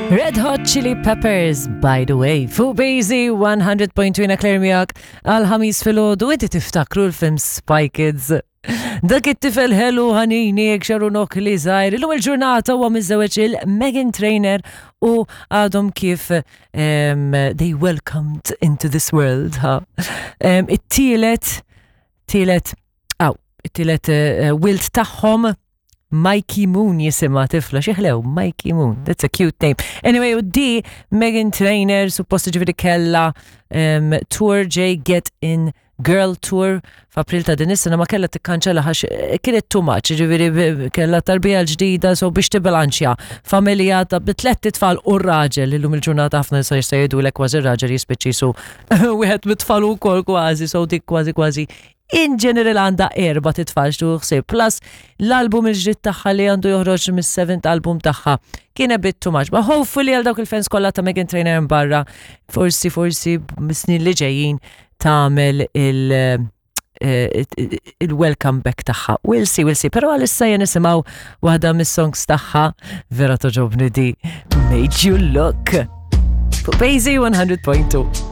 Red Hot Chili Peppers, by the way, fuq Bazy 100.2 Claire miegħek għal ħamis filgħodu inti tiftakru l-film Spy Kids. Dak it-tifel ħelu ħanini jekk xaru li żgħir. Illum il-ġurnata huwa miżżewweġ il-Megan Trainer u għadhom kif um, they welcomed into this world. Ha. Um, it-tielet, tielet, aw, it-tielet uh, wilt tagħhom Mikey Moon jisimha tifla, xieħlew, Mikey Moon, that's a cute name. Anyway, u di Megan Trainer suppost ġifiri kella um, tour J Get In Girl Tour f'April ta' din is-sena ma kellha tikkanċella għax eh, kienet too much, ġifieri kellha tarbija l-ġdida so biex tibilanċja familja ta' bi tlett itfal u raġel illum il-ġurnata ħafna nisa jista' jgħidulek kważi r-raġel jispiċċi su wieħed mit-tfal ukoll kważi so dik kważi kważi in general għandha erba' titfal xtu ħsieb plus l-album il-ġdid tagħha li għandu joħroġ mis-seventh album tagħha kien a bit too much. Ma hopefully għal dawk il-fans kollha ta' Megan Trainor barra forsi forsi mis-snin li ġejjin tagħmel il- eh, il-welcome back tagħha. We'll see, we'll see. Però għalissa jen nisimgħu waħda mis-songs tagħha vera toġobni di Made You Look. Fuq Bazy 100.2.